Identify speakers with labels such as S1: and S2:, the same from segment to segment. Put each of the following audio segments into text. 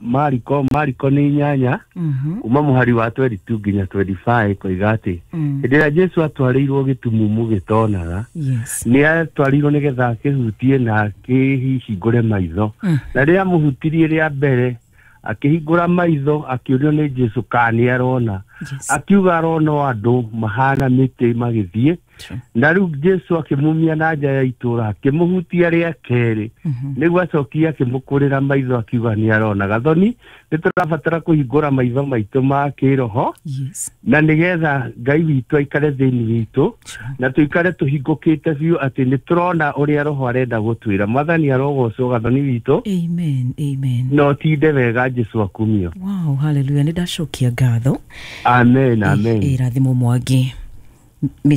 S1: Mariko, Mariko nĩ 8 kuma mũhari wa 22 nginya 25 koiga atĩ hĩndĩ ĩrĩa Jesu atwarĩirwo gĩtumumu gĩtonaga, nĩ atwarirwo nĩgetha akĩhutie na akĩhingũre maitho. Na rĩrĩa amũhutirie rĩa mbere akĩhingũra maitho, akĩũrio nĩ Jesu kana nĩ arona. Akiuga arona o andũ mahana mĩtĩ magĩthiĩ. Na rĩu Jesu akĩmumia na nja ya itũũra, akĩmũhutia rĩa kerĩ, nĩguo acokia akĩmũkũrĩra maitho, akiuga nĩ arona. Gathoni, nĩ tũrabatara kũhingũra maitho maitũ ma kĩroho na nĩgetha Ngai witũ aikare thĩinĩ witũ na tũikare tũhingũkĩte biũ atĩ nĩ tũrona ũrĩa Roho arenda gũtwĩra. Mwathani arogocwo, Gathoni witũ.
S2: Amen, amen.
S1: Na ũtinde wega, Jesu akumio.
S2: Wow, haleluya, nĩ ndacokia ngatho.
S1: Amen, amen.
S2: Ĩrathimo Mwangi.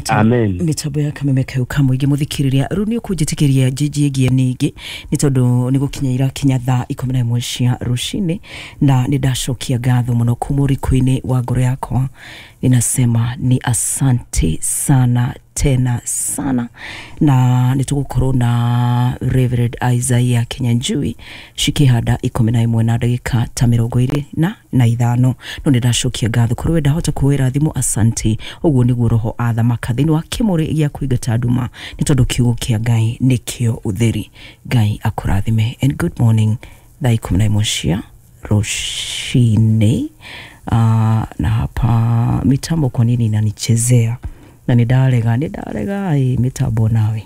S1: Amen.
S2: Mitambo ya Kameme kau kamũingĩ mũthikĩrĩria, rĩu nĩ ũkũnjĩtĩkĩria njinjie ningĩ nĩ tondũ nĩ gũkinya irakinya thaa 11 cia rũcinĩ, na nĩ ndacokia ngatho mũno kuma ũriku-inĩ wa ngoro yakwa. Ninasema ni asante sana tena sana, na nĩ tũgũkorwo na Reverend Isaiah Kinyanjui cikĩhanda 11 na ndagĩka ta 25. No nĩ ndacokia ngatho kũrĩ we ndahota kuoera thimũ. Asante. Ũguo nĩguo Roho athamaka thĩinĩ wa kĩmũrĩ gĩa kũingata nduma, nĩ tondũ kiugo kĩa Ngai nĩkĩo ũtheri. Ngai akũrathime and good morning. Thaa 11 cia rũcinĩ. Na hapa mitambo kwa nini inanichezea na nĩ ndarega, nĩ ndarega ĩ mitambo nawe.